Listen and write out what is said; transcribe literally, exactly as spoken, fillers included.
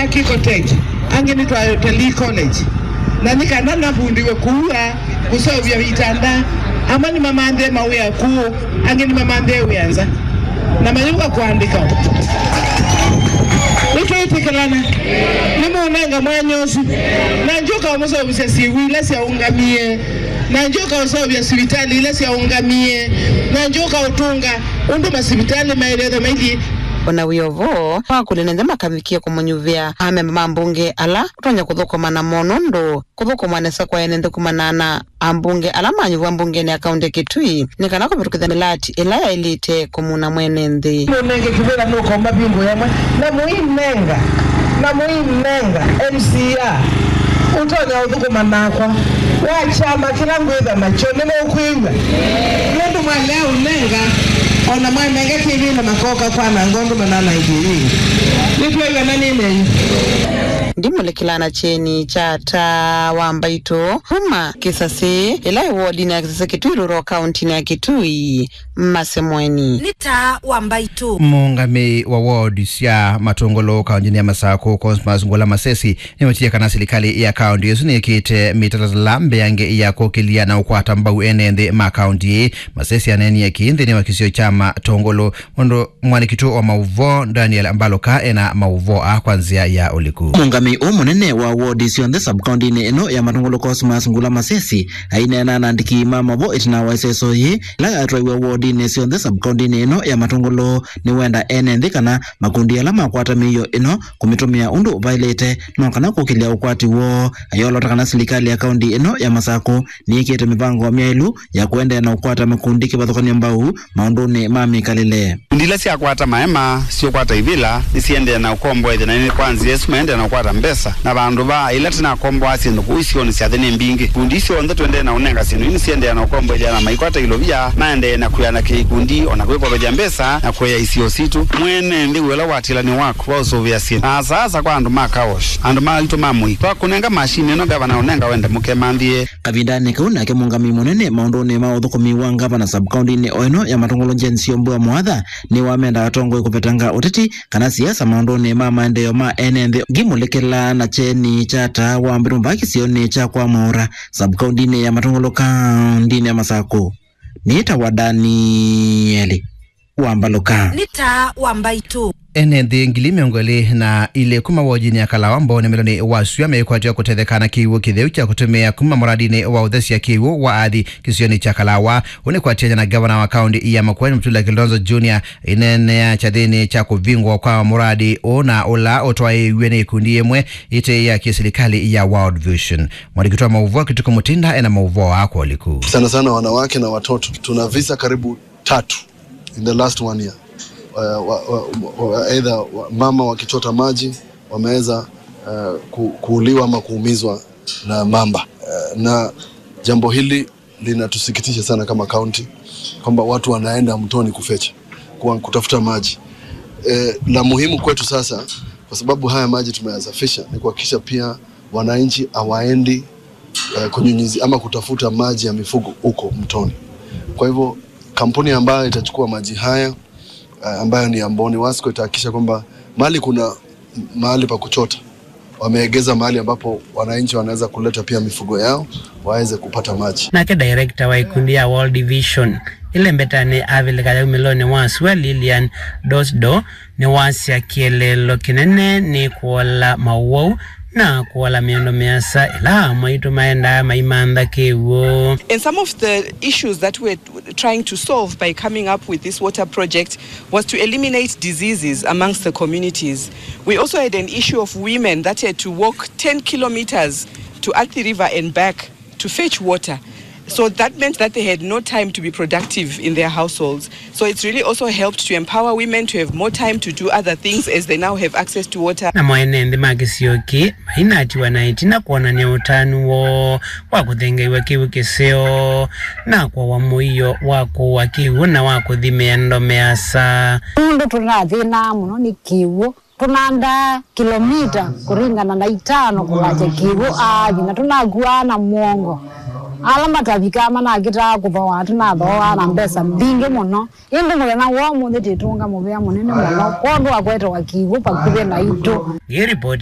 Kiko Tech, angĩ nĩ twa Utalii College. Na nĩ kana navundiwe kuua kũseũvya itanda, amwe nĩmamanthĩe mawĩa kũũ, angĩ nĩmamanthĩe wĩa nza. Na mayũka kũandĩka. Nĩtwĩtĩkĩlana. Nĩmũnenga mwanya ũsu. Na ndyũka ũmũseũvĩsya syĩw'ũ ila syaũngamie. Na ndyũka ũseũvya sivitalĩ ila syaũngamie. Na ndyũka ũtũnga ũndũ masivitalĩ maĩlĩte maithi. O na wĩ o vo, wakũlya nĩ nthĩ makavikie kũmũnyuvĩa amemba ma mbunge ala ũtonya kũthũkũma namo nũndũ kũthũkũma nesa kwa ene nthĩ kumana na ambunge ala manyuvwa mbungenĩ ya kaunti ya Kitui nĩ kana kũvĩtũkĩthya mĩlati ĩla yaĩlĩte kũmuna mwene nthĩ. Mũnenge kĩvĩla nũkoma vingũ yamwe na mũinenga, na mũinenga M C A ũtonya ũthũkũma nakwa wa kyama kĩla ngwĩtha nakyo nĩmũkwĩw'a. Nũndũ mwalea ũnenga, o na mwanenga kĩvĩla makoka kwananga ũndũ mananangie yĩngĩ. Nĩtwĩw'a na nĩnenyu. Ndimũlĩkĩla na kyeni kya taa wa mbaitũ kuma Kĩsasĩ, ĩla ĩ wodinĩ ya Kĩsasĩ Kitui Rural, kauntinĩ ya Kitui, Masemweni. Nĩ taa wa mbaitũ. Mũũngamĩi wa ward sya Matũngũlũ kauntinĩ ya Masakũ, Cosmas Ngula Masesi, nĩwetie kana silikalĩ ya kaunti ĩsu nĩĩkĩte mĩtalatala mbeange ya kũkĩlya na ũkwata mbau ene nthĩ ma kaunti ĩĩ. Masesi aneenie kĩĩ nthĩnĩ wa kĩsio kya Matũngũlũ, ũndũ mwandĩki witũ wa maũvoo Daniel Mbaluka ena maũvoo aa kwa nzĩa ya ũliku. Mũũngamĩi ũũ mũnene wa wodi syonthe sub-kauntinĩ ĩno ya Matũngũlũ, Cosmas Ngula Masesi, aineena na andĩki ma maũvoo ĩtina wa ĩseso yĩĩ ĩla yatwaiwe wodinĩ syonthe sub-kauntinĩ ĩno ya Matũngũlũ, nĩwenda ene nthĩ kana makundi ala makwata mĩio ĩno kũmĩtũmĩa ũndũ vaĩlĩte no kana kũkĩlya ũkwati woo. Ayolota kana silikalĩ ya kaunti ĩno ya Masakũ nĩĩkĩte mĩvango myaĩlu ya kũendeea na ũkwata makundi kĩvathũkany'o mbau maũndũnĩ ma mĩkalĩle. Ikundi ila syakwata maema, syũkwata ivĩla, nĩsiendee na ũkomboethya, na nĩ kwa nzĩa ĩsu maendee na ũkwata mbesa. Na vandũ va ĩla tũnakomboaa syĩndũ kũu isionĩ sya nthĩ nĩ mbingĩ. Ikundi ii syonthe tũendee na ũnenga syĩndũ ii nĩsiendee na ũkomboethya na maikwata ilovia, maendee na kwĩanakĩa ikundi, o na kwĩkovethya mbesa, na kũea isio sitũ. Mwene nthĩ wĩ ũla ũatĩĩla nĩ waku wa ũsũvĩa syĩndũ. Na asa asa kwa andũ ma car wash, andũ ma aitũ ma mũi. Twakũnenga mashini ĩno, ngavana ũnenga wende mũkemanthĩe. Kavindanĩ kau nake mũũngamĩi mũnene maũndũnĩ ma ũthũkũmi wa ngavana sub-kauntinĩ o ĩno ya Matũngũlũ, Jane Syombua Mwatha, nĩwamenda atongoi kũvetanga ũteti kana siasa maũndũnĩ ma maendeeo ma ene nthĩ. Ngimũlĩkĩla na kyeni kya taa wa mbĩtũ mbaa kĩsionĩ kya kwa Mwaũra, sub-kauntinĩ ya Matũngũlũ, kauntinĩ ya Masakũ, nĩtawa Danieli wa Mbaluka. Nĩ taa wa mbaitũ. Ene nthĩ ngili mĩongo ĩlĩ na ilĩ kuma wodinĩ ya Kalawa Mbooni mwelonĩ wa Sua meĩkwatĩwa kũtetheka na kĩw'ũ kĩtheu kya kũtũmĩa kuma mũradinĩ wa ũthesya kĩw'ũ wa Athi kĩsionĩ kya Kalawa. Ũũ nĩ kwatĩanĩa na ngavana wa kaunti ya Makueni, Mutula Kilonzo Junior, aineenea kyathĩnĩ kya kũvingũa kwa mũradi ũũ na ũla ũtwaĩĩw'e nĩ ikundi imwe ite ya kĩsilikalĩ ya World Vision. Mwandĩki witũ wa maũvoo Kituku Mutinda ena maũvoo aa kwa ũliku. Sana sana wanawake na watoto. Tuna visa karibu tatu in the last one year. Uh, wa, wa, wa, either wa, mama wakichota maji wameweza, uh, ku, kuuliwa ama kuumizwa na mamba. Uh, na jambo hili linatusikitisha sana kama county, kwamba watu wanaenda mtoni kufecha, kwa kutafuta maji. Eh, la muhimu kwetu sasa, kwa sababu haya maji tumeyasafisha, ni kuhakikisha pia wananchi hawaendi, eh, kunyunyizi ama kutafuta maji ya mifugo huko mtoni. Kwa hivyo, kampuni ambayo itachukua maji haya, eh, ambayo ni ya Mbooni Wasco, itahakikisha kwamba mahali kuna mahali pa kuchota, wameegeza mahali ambapo wananchi wanaweza kuleta pia mifugo yao waweze kupata maji. Nake director wa ikundi ya World Vision ĩlembetanĩ Avilika ya umĩlonĩ wa sua, Lilian Dosdo, nĩwasya kĩeleelo kĩnene nĩ kũola maũwau na kũola mĩondo mĩasa ĩla amwe aitũ maendaa maimantha kĩw'ũ. And some of the issues that we're trying to solve by coming up with this water project was to eliminate diseases amongst the communities. We also had an issue of women that had to walk ten kilometers to Athi River and back to fetch water. So that meant that they had no time to be productive in their households. So it's really also helped to empower women to have more time to do other things as they now have access to water. Namo ene nthĩ ma kĩsio kĩĩ mainatiwa na ĩtina kwonany'a ũtanu woo wa kũthengeew'a kĩw'ũ kĩseo na kũawa mũio wa kũua kĩw'ũ na wa kũthi mĩendo mĩasa. Nũndũ tũnathĩnaa mũno nĩ kĩw'ũ, tũnandaa kilomita kũringana na itano kũlakya kĩw'ũ Athi, na tũnakuaa na mũongo. Ala matavikaa manakĩtaa kũthooa, tũnathooaa na mbesa mbingĩ mũno. Ĩndĩ mũthenya wa ũmũnthĩ twĩtũnga mũvea mũnene mũno kwondũ wa kwetewa kĩw'ũ vakuvĩ naitũ. Ĩ ripoti